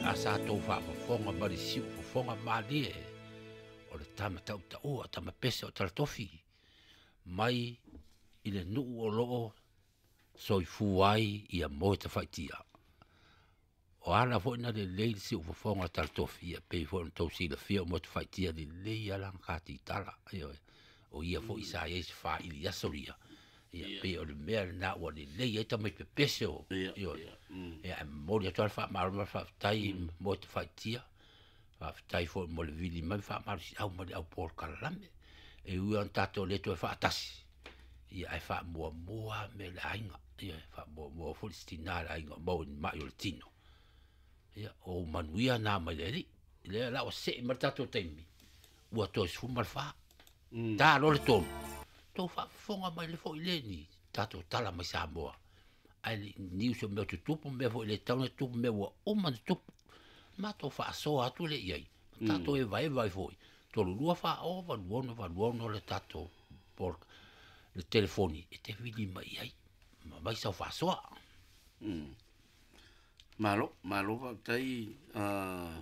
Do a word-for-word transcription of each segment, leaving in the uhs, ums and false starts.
A sa tou faafofoga ma le siufofoga malie o le tama tautaua tama pese o Talatofi mai i le nuu o loo soifua ai ia moe tafaitia. O ala foi na lelei le siufofoga o Talatofi ia pei foi ona tou silafia o moe tafaitia lelei ala katitala ioe. O ia foi sa iai se faili aso ia ia pei o le mea lena ua lelei ai tamai pepese o ioe. Ia e momoli atu ai le faamalo ma le faafetai moe tafaitia. Faafetai foi mo le vili mai faamalosiau ma le au polokalame. E ui ona tatou le toe faatasi ia ae faamuamua mea le aiga. Ia faamuamua foi le sitina le aiga o maua ni mai o le tino. Ia o manuia nā mai le alii. Lea la ua see ma le tatou taimi ua toe sefulu ma le fa. Ta loa le tolu. Tou faafofoga mai le foi le ni tatou tala mai Samoa. Ai le niu se mea tutupu mea foi le tau na tupu mea ua uma na tupu. Matou faasoa atu le iai. Tatou e vaeva ai foi. Tolu lua fa o valu ono valu ono le tatou pol le telefoni e te vili mai ai. Ma mai sau faasoa. Malo, malo faafetai a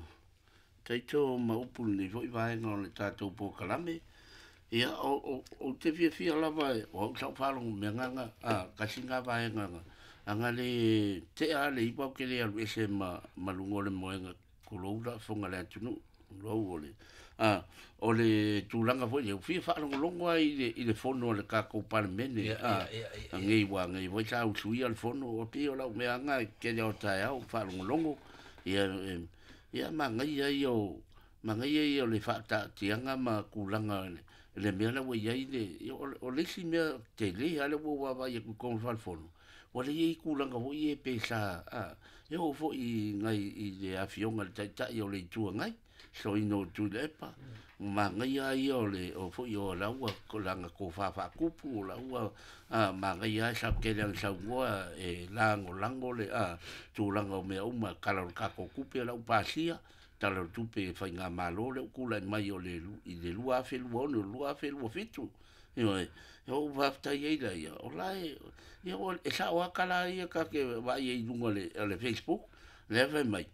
taito ma upu lenei foi vaega o le tatou polokalame. Ia o o o te fiafia lava e o au sau faalogo mea gaga a kasi ngā vaega nga anga le tea le iwa o ke le alu ese ma ma luga o le moega kulou la fonga le atunuu lou o le a o le tulaga foi lea ua fia faalogologo ai i le i le fono a le tatou Palemene a nei ua nei foi sa usuia le fono o pei o lau mea aga tele o taeao faalogologo ia ia magaia ia o magaia ia o le faataatiaga ma tulaga le le mea la ua iai le o le isi mea tele lava lea ua ou vaavaai atu i totonu o le falefono ua le iai tulaga foi ia pe sa a e oo foi i nai i le afioga i le Taitai o le Itu Agai soina o Tuilaepa magaia ia o le o foi o laua lana tofa faatupu o laua a magaia ai sa tele ana saunoa e lagolago le a tulaga o mea uma tala o le tatou tupe o lau pasia tala o le tupe faigamalo lea ua tulai mai o le i le lua afe lua ono lua afe lua fitu ioe. E ou faafetai ai laia o la e ia e sao lava tala ia ta te vaai ai i luga o le Facebook lea fai mai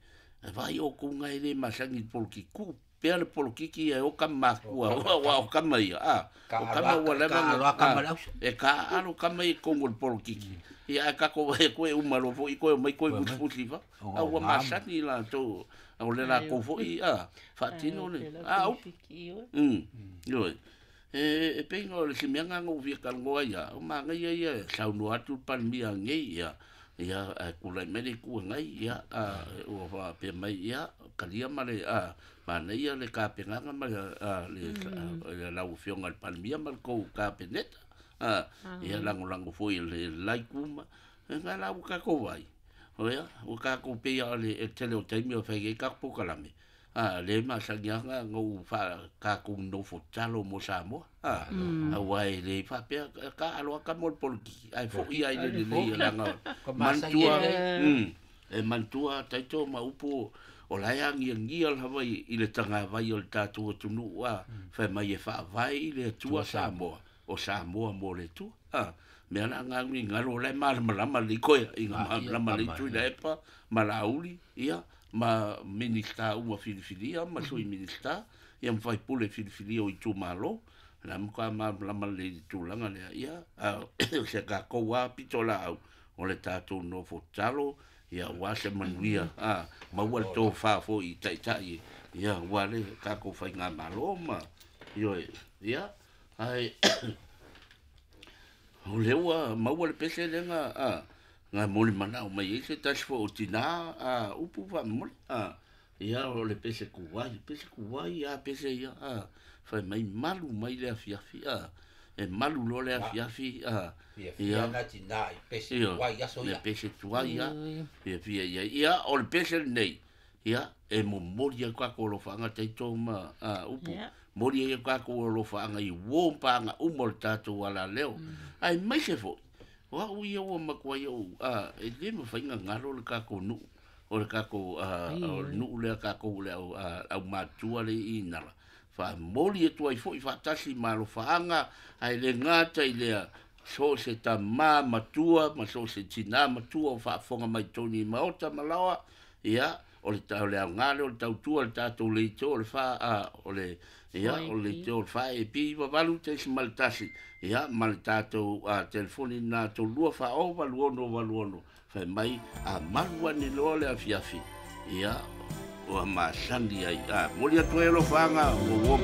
e vaai outou na e le masani i le polokiki pea le polokiki e o kama matua aua o kama ia a o kama ua leva e taaalo kama ia i totonu o le polokiki ia ae tatou vaai atu e uma loa foi koe omai koe fusifusi i fafo a ua masani latou o le latou foi a faatino le a upu ioe. E pei o le isi mea lena na ou fia talanoa ai lava o manaia ia e saunoa atu le Palemia nei ia ia ae tulai mai le Itu Agai ia a ua faapea mai ia talia ma le a manaia le tapenaga ma le a le lau Afioga i le Palemia ma le tou Kapeneta a ia lagolago foi le la itu ma lena la ua tatou vaai o ia ua tatou pei lava o le tele o taimi o fai ai tatou polokalame a le masani lava na ou faa tatou nofo tatalo mo Samoa a aua e le faapea taaalo lava tama o le polokiki ae foi lava i le lelei leaga manatua e manatua taito ma upu o la e agiagia lava i le tagavai o le tatou atunuu a fai mai e faavae i le Atua Samoa o Samoa mo le Atua a mea la nga galo o la e malamalama lelei koe i nga malamalama lelei Tuilaepa ma Laauli ia ma Minista uma filifilia ma Sui Minista ia ma faipule filifilia o itumalo la matua malamalama lelei i le tulaga lea ia a o se tatou lava pito laau o le tatou nofo tatalo ia aua se manuia a maua le tofa foi i taitai ia aua le tatou faigamalo ma ioe ia ae o lea ua maua le pese lea na a na molimanaʻo mai ai se tasi foi o tinā a upu faamomoli a ia o le pese tuai pese tuai a pese ia a fai mai malu mai le afiafi a e malu loa le afiafi a ia na tinā i pese tuai aso ia le pese tuai a fiafia ia ia o le pese lenei ia e momoli ai tatou alofaaga taito ma a upu moli ai tatou alofaaga i uo ma paaga uma o le tatou alaleo aemaise foi o au ia ua matua ai ou a e le mafai ona galo le tatou nuu o le tatou o le nuu lea tatou le au aumatua le i Nala faamoli atu ai foi faatasi ma alofaaga ae le gata i lea so o se tamā matua ma so o se tinā matua o faafofoga mai totonu i maota ma laoa Ia, o le o le aoga lea o le tautua le tatou leitio o le fa a o le ia o le leitio o le fa e pi iva valu tesimale tasi ia ma le tatou a telefoni na tolu lua fa o valu ono valu ono fai mai a malu ane loa le afiafi ia ua masani ai a moli atu ai alofaga ua ua.